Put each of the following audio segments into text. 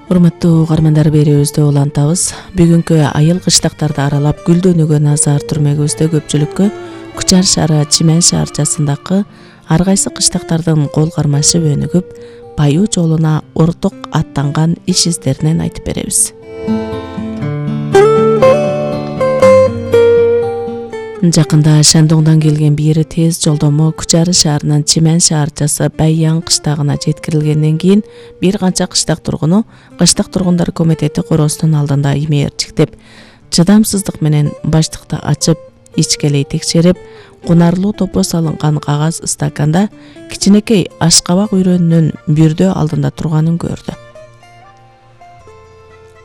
Урматтуу угармандар, берүүбүздү улантабыз. Бүгүнкү айыл кыштактарды аралап гүлдөнүүгө назар түрмөгүбүздө көпчүлүккө Кучар шаары Чимен шаарчасындагы ар кайсы кыштактардын кол кармашып өнүгүп, байуу жолуна орток аттанган иш издеринен айтып беребиз. Жакында Шандоңдон келген бир тез жолдомо Кучар шаарынын Чимен шаарчасы Байяң кыштагына жеткирилгенден кийин бир канча кыштак тургуну Кыштак тургундар комитети короосунун алдында имээрчиктеп, чыдамсыздык менен баштыкты ачып, ичкелей текшерип, кунарлуу топо салынган кагаз стаканда кичинекей ашкабак үйрөнүнүн бүрдө алдында турганын көрдү.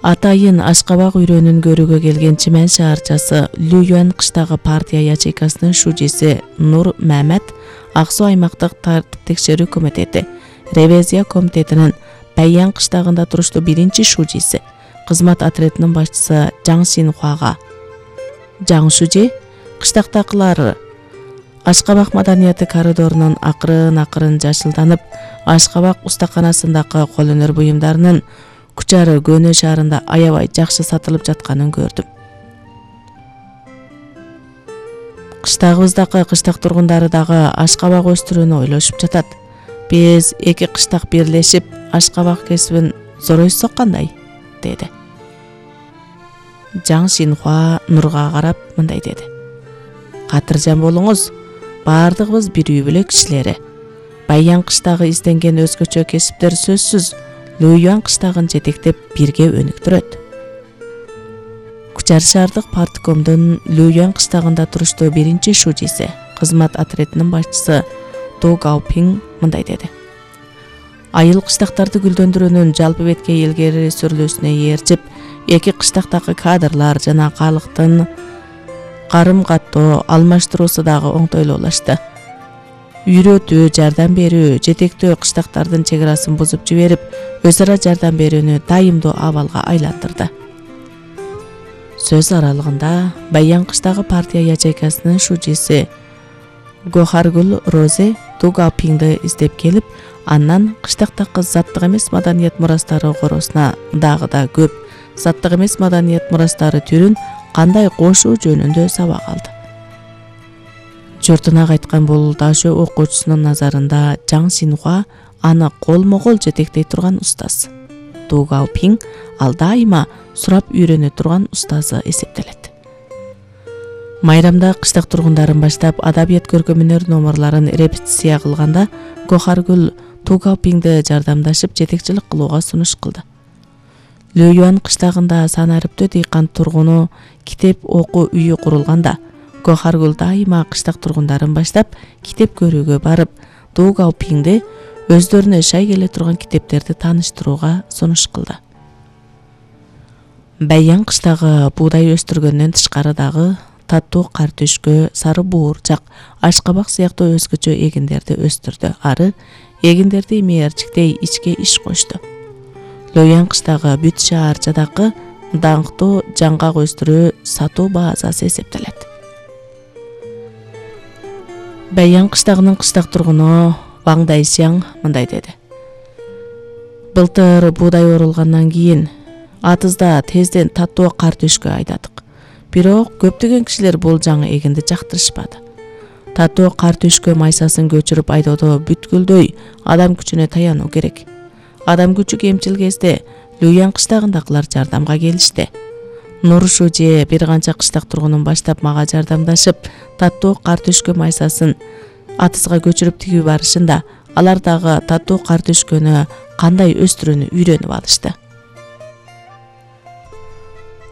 Атайын ашкабак үйрөнүн көрүүгө келген Чимен шаарчасы Лүйөн кыштагы партия ячейкасынын шужиси Нур Мамед Ак Суу аймактык тартип текшерүү комитети ревизия комитетинин Байяң кыштагында туруштуу биринчи шужиси, кызмат отрядынын башчысы Жаң Синхуага Жаң шужи кыштактакылар Ашкабак маданияты коридорунун акырын жашылданып, Ашкабак устаканасындагы кол өнөр буюмдарынын Кучар Көнө шаарында аябай жакшы сатылып жатканын көрдүм. Кыштагыбыздагы кыштак тургундары дагы ашкабак өстүрүүнү ойлошуп жатат. Биз эки кыштак бирлешип ашкабак кесибин зоройсок кандай, деди. Жаң Синхуа Нурга карап мындай деди: Катыржан болуңуз, баардыгыбыз бир үй бүлө кишилери. Байяң кыштагы изденген өзгөчө кесиптер сөзсүз Лүйөн кыштагын жетектеп бирге өнүктүрөт. Кучар шаардык парткомдун Лүйөн кыштагында туруштуу биринчи шужиси, кызмат отрядынын башчысы Ту Гаопинг мындай деди: Айыл кыштактарды гүлдөндүрүүнүн жалпы бетке илгери сүрүлүүсүнө ээрчип, эки кыштактагы кадрлар жана калктын карым каттоо алмаштыруусу дагы оңтойлуулашты. Үйрөтүү, жардам берүү, жетектөө кыштактардын чекарасын бузуп жиберип, өз ара жардам берүүнү дайымдуу абалга айландырды. Сөз аралыгында Байяң кыштагы партия ячейкасынын шужиси Гохаргул Розе Ту Гаопингди издеп келип, андан кыштактагы заттык эмес маданият мурастары короосуна дагы да көп заттык эмес маданият мурастары түрүн кандай кошуу жөнүндө сабак алды. Жортуна кайткан бул дашөө окуучусунун назарында Жаң Синхуа аны колмо-кол жетектей турган устаз. Ту Гаопинг ал дайыма сурап үйрөнө турган устазы эсептелет. Майрамда кыштак тургундарын баштап адабият көркөм-өнөр номерларын репетиция кылганда Гохаргул Ту Гаопингди жардамдашып жетекчилик кылууга сунуш кылды. Лүйөн кыштагында санариптүү дыйкан тургуну китеп окуу үйү курулганда Гохаргул дайыма кыштак тургундарын баштап китеп көрүүгө барып, Ту Гаопингди өздөрүнө шай келе турган китептерди тааныштырууга сунуш кылды. Байяң кыштагы буудай өстүргөндөн тышкары дагы таттуу картөшкө, сары буурчак, ашкабак сыяктуу өзгөчө эгиндерди өстүрдү. Ары эгиндерди имээрчиктей ичке иш кошту. Лүйөн кыштагы бүт шаарчадагы даңктуу жаңгак өстүрүү сатуу базасы эсептелет. Байяң кыштагынын кыштак тургуну Ваң Дайсяң мындай деди: Былтыр буудай орулгандан кийин атызда тезден таттуу картөшкө айдадык. Бирок көптөгөн кишилер бул жаңы эгинди жактырышпады. Таттуу картөшкө майсасын көчүрүп айдоодо бүткүлдөй адам күчүнө таянуу керек. Адам күчү кемчил кезде Лүйөн кыштагындагылар жардамга келишти. Нур шужи бир канча кыштак тургунун баштап мага жардамдашып, таттуу картөшкө майсасын атызга көчүрүп тигип барышында, алар дагы таттуу картөшкөнү кандай өстүрүүнү үйрөнүп алышты.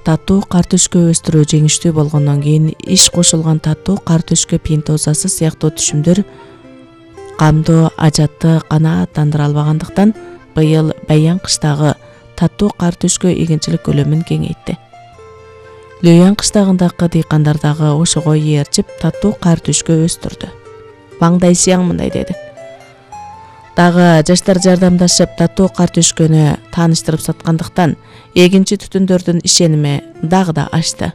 Таттуу картөшкө өстүрүү жеңиштүү болгондон кийин иш кошулган таттуу картөшкө пинтозасы сыяктуу түшүмдөр камдоо ажатты канааттандыра албагандыктан быйыл Байяң кыштагы таттуу картөшкө эгинчилик көлөмүн кеңейтти. Лүйөн кыштагындагы дыйкандар дагы ошого ээрчип таттуу картөшкө өстүрдү. Ваң Дайсяң мындай деди: Дагы жаштар жардамдашып таттуу картөшкөнү тааныштырып саткандыктан эгинчи түтүндөрдүн ишеними дагы да ашты.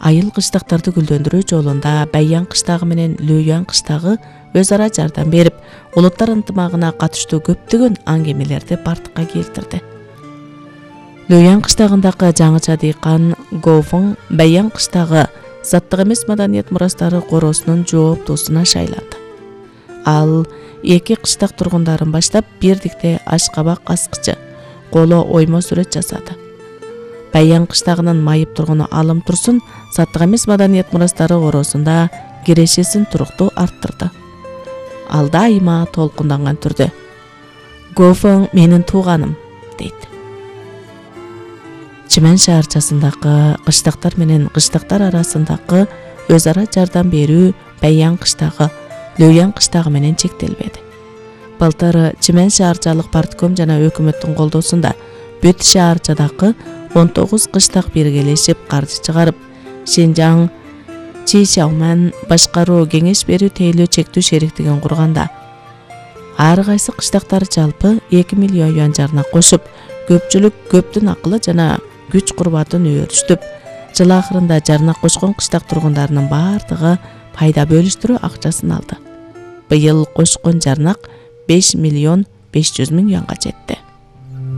Айыл кыштактарды гүлдөндүрүү жолунда Байяң кыштагы менен Лүйөн кыштагы өз ара жардам берип, улуттар ынтымагына катыштуу көптөгөн аңгемелерди бардыкка келтирди. Люян кыштагындагы жаңыча дыйкан Гофун Баян кыштагы заттык эмес маданият мурастары короосунун жооптуусуна шайланды. Ал эки кыштак тургундарын баштап бирдикте ашкабак аскычы, коло оймо сүрөт жасады. Баян кыштагынын майып тургуну Алым Турсун заттык эмес маданият мурастары короосунда кирешесин туруктуу арттырды. Ал дайыма толкунданган түрдө «Гофун менин тууганым» дейт. Чимен шаарчасындагы кыштактар менен кыштактар арасындагы өз ара жардам берүү Баян кыштагы, Люян кыштагы менен чектелбеди. Былтыр Чимен шаарчалык партком жана өкмөттүн колдоосунда бүт шаарчадагы 19 кыштак биргелешип каржы чыгарып, Шинжаң Чишауман башкаруу кеңеш берүү тейлөө чектүү шериктигин курганда, ар кайсы кыштактар жалпы 2 миллион юан жарна кошуп, көпчүлүк көптүн акылы жана күч курбатын өөрүштүп, жыл акырында жарна кошкон кыштак тургундарынын бардыгы пайда бөлүштүрүү акчасын алды. Быйыл кошкон жарнак 5 миллион 500 миң юанга жетти.